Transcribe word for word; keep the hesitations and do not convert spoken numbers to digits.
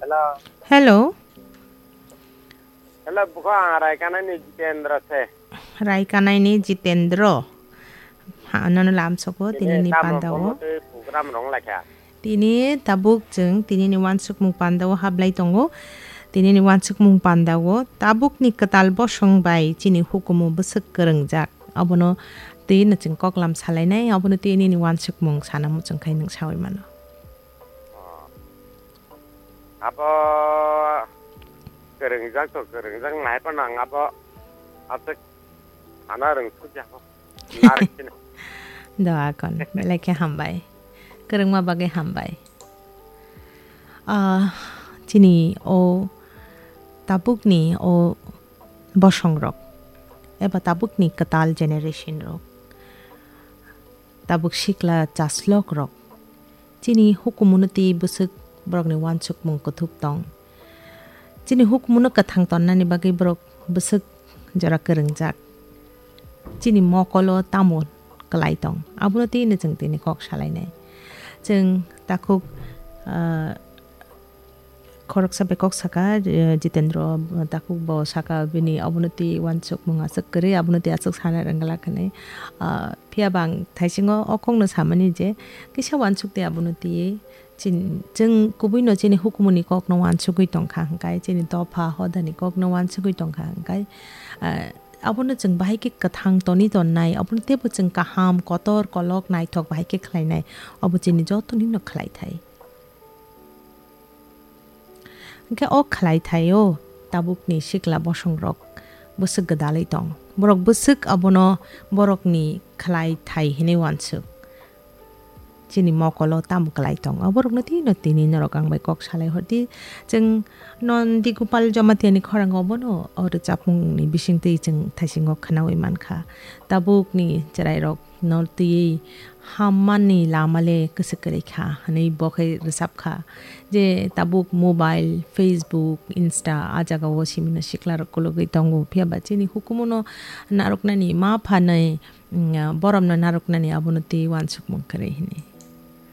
Hello. Hello. Hello, bukha ang Raikanaini Jitendra se. Raikanaini Jitendra. Ha, nono lamsoko tini tini ni tamo pandao. Bomo tei program rong laikha. Tini tabuk chwng tini ni wansukmung pandao hablai tongo. Tini ni wansukmung pandao tabuk ni kwtal bosong bai chini hukumu bwswk kwrwngjak. Abono twi no chwng koklam salainai, abono tini ni wansukmung sana muchung khai nwng sawi mano. Oh. Abo kwrwngjak to kwrwngjak nai phano ang abo aswk sana rwng sukya ho. Narwk sini. Doa kon, belai khe hambai. Kwrwngma bagwi hambai. Ah, chini o tabukni o bosongrok eba tabukni kwtal generation rok. Tabuk sikla chaslok rok. Chini hukumuno tei bwswk borokni wansukmung kuthuk tong. Chini hukumuno kwthang tonnani bagwi borok bwswk jora kwrwngjak. Chini mokolo tamo kwlai tong. Abono tei no chwng tini kok salainai. Chwng takhuk, ah, Khoroksa bai kok saka, eh, Jitendra, eh, takhuk bo saka bini obono twi wansukmung aswk kwrwi, abono twi aswk sana rwngla hwnwi. Ah, phiya ba ang thaisingo o kokno samani je kisa wansuk twi abono twi chin-, chwng kubui no chini hukumuni kokno wansugwi tongkha hwnkhe, chini dopha hodani kokno wansugwi tongkha hwnkhe, ah, abono chwng bahai khe kwthang toni tonnai, abono teibo chwng kaham, kotor, kolok, naithok bahai khe khlainai, obo chini jotonino khlaithai. Hwnkhe o khlai thaio tabukni sikla bosongrok bwswk gwdalwi tong. Borok bwswk abono borokni khlai thai hinwi wansuk. Chini mokolo tamo kwlai tong. O borokno tino tini norok ang bai kok salai hordi. Chwng Nondi Gopal Jamatia ni khorang obono o rwchapmungni bisingtwi chwng thaisingo khwnawi mankha. Tabukni chwrairok no twiwi hammani lama le kwswk kwrwi kha hwnwi bo khe rwchap kha je tabuk mobile, Facebook, Insta a jagao simino siklarok kologwi tongo. Phiya ba chini hukumuno narwknani ma phanai, mm, boromno narwknani abono tei wansukmung kwrwi hwnwi.